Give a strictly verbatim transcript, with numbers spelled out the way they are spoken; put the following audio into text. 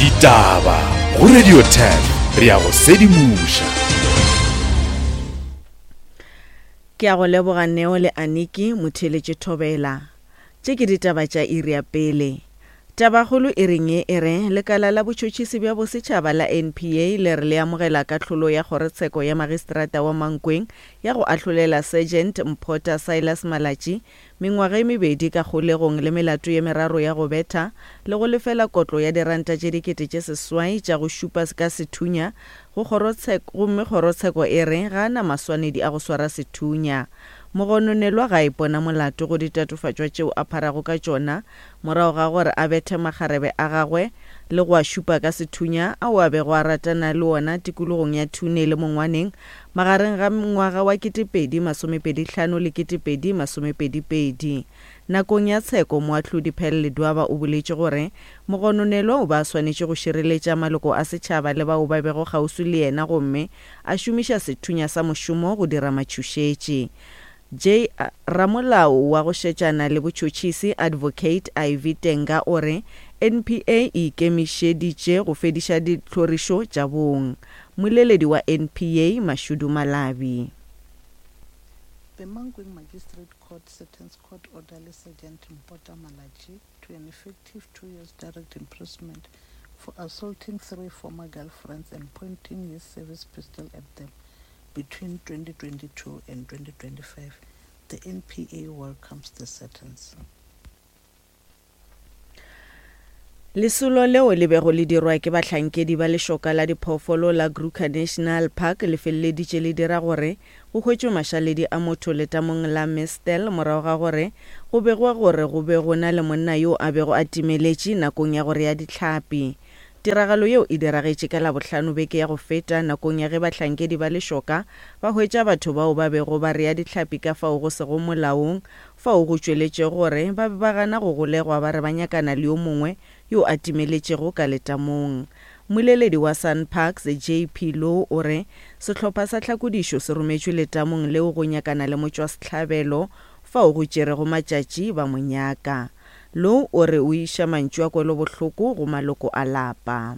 Ditaba go Radio ten re a go sedimoša. Ke a go leboga Neo le Aniki motheeletše Thobela. Tše ke ditaba tša iri ya pele. Tabakgolo e reng ye e re lekala la botšhotšhisi bja bosetšhaba la N P A le re le amogela kahlolo ya kgorotsheko ya magistrata wa Mankweng ya go ahlolela Sergeant Mphota Silas Malatji mengwaga e mebedi ka kgolegong le melato ye meraro ya go betha le go lefela kotlo ya diranta tše dikete tše seswai tša go šupa ka sethunya go kgorotsheko, gomme kgorotsheko e re ga a na maswanedi a go swara sethunya. Mogononelwa ga a ipona molato go ditatofatšwa tšeo a pharago ka tšona morago ga gore a bethe makgarebe a gagwe le go a šupa ka sethunya ao a bego a ratana le ona tikologong ya Thune le Mongwaneng magareng ga ngwaga wa ketepedi masomepedi hlano le ketepedi masomepedi pedi. Nakong ya tsheko, moahlodi Pearl Ledwaba o boletše gore mogononelwa o be a swanetše go šireletša maloko a setšhaba le bao ba bego kgauswi le yena gomme a šomiša sethunya sa mošomo go dira matšhošetši. J. Ramolao wa go šetšana le botšhotšhisi Advocate Ivy Tenga o re N P A e ikemišeditše go fediša ditlhorišo tša bong. Moleledi wa N P A Mashudu Malabi. The Mankweng Magistrate Court sentenced court orderly Sergeant Mpota Malatji to an effective two years direct imprisonment for assaulting three former girlfriends and pointing his service pistol at them between twenty twenty-two and twenty twenty-five. The N P A welcomes the sentence. Lesolo leo le bego le dirwa ke bahlankedi ba lešoka la diphoofolo la Kruger National Park le feleleditše le dira gore go hwetšwe mašaledi a motho letamong la Mistel morago ga gore go begwa gore go be go na le monna yo a bego a timeletše nakong ya go rea dihlapi. Tiragalo yeo e diragetše ka Labohlano beke ya go feta nakong ya ge bahlankedi ba lešoka ba hwetša batho bao ba bego ba rea dihlapi ka fao go sego molaong, fao go tšweletšego gore ba be ba gana go golegwa ba re ba nyakana le yo mongwe yo a timeletšego ka letamong. Mmoleledi wa SANParks J P Louw o re sehlopha sa tlhakodišo se rometšwe letamong leo go nyakana le motšwasehlabelo fao go tšerego matšatši ba mo nyaka. Louw o re o iša mantšu a kwelobohloko go maloko a lapa.